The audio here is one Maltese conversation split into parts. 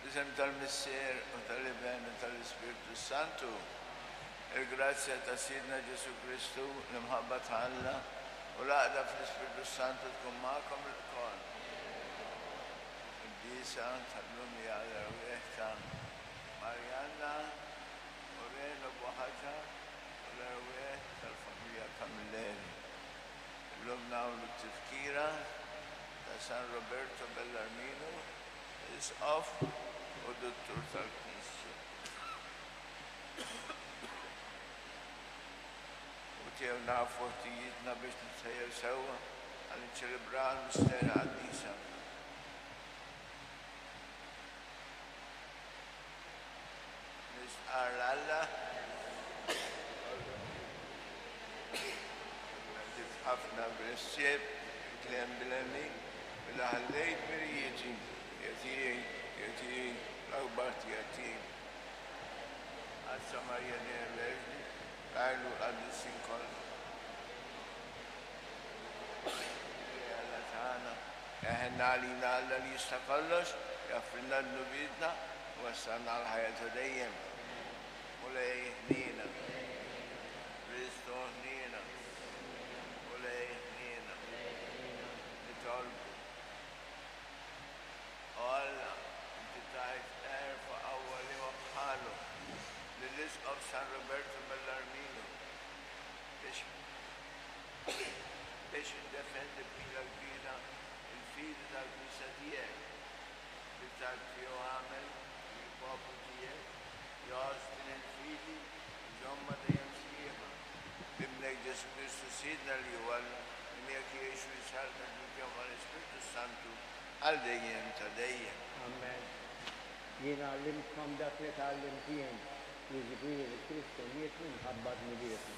Fl-isem tal-Missier u tal-Iben u tal-Ispirtu s-Santu, il-grazzja ta' Sidna Ġesù Kristu, l-imħabba ta' Alla, u l-għaqda fl-Ispirtu s-Santu tkun magħkom ilkoll. Il-quddiesa tal-lum hija għall-erwieħ ta' Marianna u Reno Buhaġar u l-erwieħ tal-familja Camilleri. Illum nagħmlu t-tifkira ta' San Roberto Bellarmino, Isqof u Duttur tal-Knisja. U tiegħu nafu ħtijietna biex nitħejjew sewwa għal niċċelebraw l-misteri qaddisa. Nistqarr 'l Alla. Ħafna bil-ħsieb, bil-kliem, bil-għemil. Mela ħallejt mirijieti, hija tiegħi, hija tiegħi, l-akbar hija tiegħi. Qaddsa Marija dejjem Verġni, tgħajlu l-qaddisin kollha. Mulej Alla tagħna, eħenna għalina Alla li jista' kollox, jaghfrilna dnubietna u wassalna għall-ħajja ta' dejjem. Mulej ħniena. Kristu ħniena. Mulej ħniena. Nitolbu. O Alla, inti tajt għerf u qawwa liema bħalu lill-Isqof San Roberto Bellarmino biex biex jiddefendi b'ħila kbira l-fidi tal-Knisja tiegħek. Bit-talb tiegħu agħmel li l-poplu tiegħek jgħożż din il-fidi u jżommha dejjem sħiħa. B'Ibnek Ġesù Kristu Sidna li hu Alla, li miegħek jgħix u jsaltan flimkien mal-Ispirtu s-Santu għal dejjem ta' dejjem. Amen. Jien għallimtkom dak li tgħallimt jien, jiġifieri li Kristu miet minħabba dnubietna.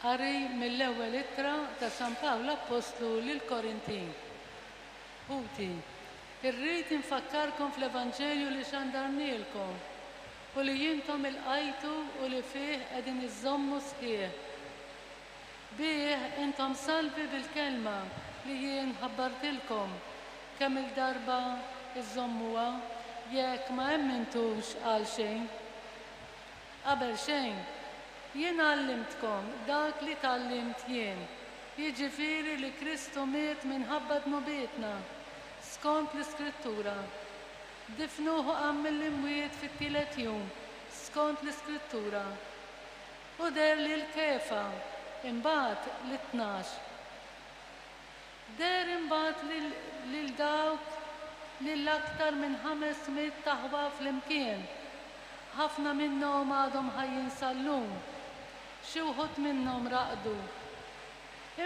Qari mill-ewwel ittra ta' San Pawl Appostlu lill-Korintin. Ħuti, irrid infakkarkom fl-Evanġelju li xandarnielkom u li intom ilqajtu u li fih qegħdin iżżommu sħiħ. Bih intom salvi bil-kelma li jien ħabbartilkom, kemm-il darba iżżommuha, jekk ma emmintux għal xejn. Qabel xejn, jien għallimtkom dak li tgħallimt jien, jiġifieri li Kristu miet minħabba dnubietna, skont l-Iskrittura. Difnuh u qam mill-imwiet fit-tielet jum, skont l-Iskrittura. U deher lil Kefa, imbagħad lit-tnax. Deher imbagħad lil lil dawk lil aktar minn 500 aħwa flimkien. Ħafna minnhom għadhom ħajjin sal-lum. Xi wħud minnhom raqdu.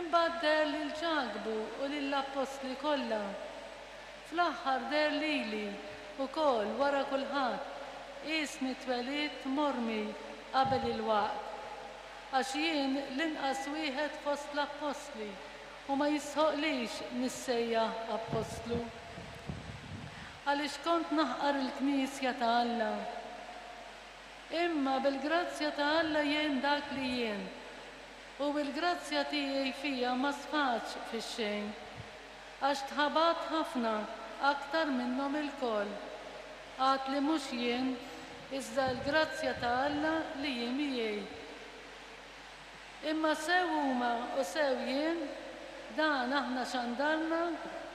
Imbagħad deher lil Ġakbu u lill-appostli kollha. Fl-aħħar deher lili wkoll wara kulħadd, qiesni twelidt mormi qabel il-waqt. Għax jien l-inqas wieħed fost l-appostli u ma jistħoqqlix nissejjaħ appostlu. Għaliex kont naħqar il-Knisja ta' Alla. Imma bil-grazzja ta' Alla jien dak li jien, u l-grazzja tiegħi fija ma sfatx fix-xejn. Għax tħabatt ħafna aktar minnhom ilkoll, għad li mhux jien, iżda l-grazzja ta' Alla li hi miegħi. Imma sew huma u sew jien, dan aħna xandarna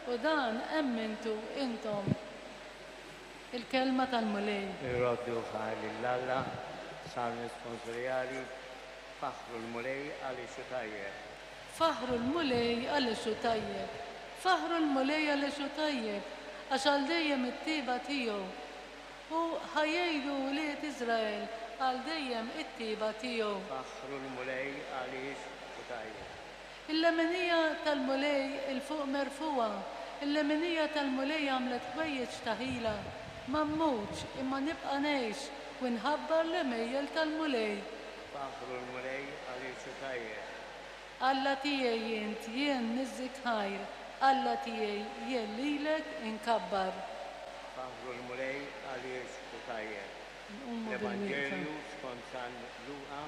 u dan emmintu intom. Il-Kelma tal-Mulej. Irroddu ħajr lil Alla, Salm Responsorjali, Faħħru l-Mulej għaliex hu tajjeb. Faħħru l-Mulej għaliex hu tajjeb. Faħħru l-Mulej għaliex hu tajjeb, għax għal dejjem it-tjieba tiegħu. U ħa jgħidu wlied Iżrael għal dejjem it-tjieba tiegħu. Faħħru l-Mulej għaliex hu tajjeb. Il-leminija tal-Mulej 'il fuq merfugħa, il-leminija tal-Mulej għamlet ħwejjeġ ta' ħila. Ma mmutx, imma nibqa' ngħix u nħabbar l-għemejjel tal-Mulej. Faħħru l-Mulej għaliex hu tajjeb. Alla tiegħi int, jien niżżik ħajr, Alla tiegħi, jien lilek inkabbar. Faħħru l-Mulej għaliex hu tajjeb. Nqumu bilwieqfa. L-Evanġelju skont San Luqa.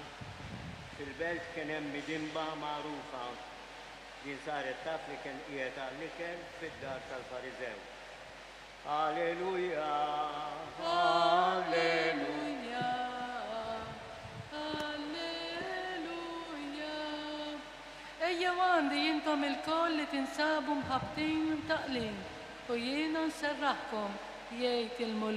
Fil-belt kien hemm midinba magħrufa. Din saret taf li kien qiegħed għall-ikel fid-dar tal-Fariżew. Alleluja! Alleluja! Alleluja! Ejjew għandi intom ilkoll li tinsabu mħabbtin u mtaqqlin, u jiena nserraħkom, jgħid il-Mulej.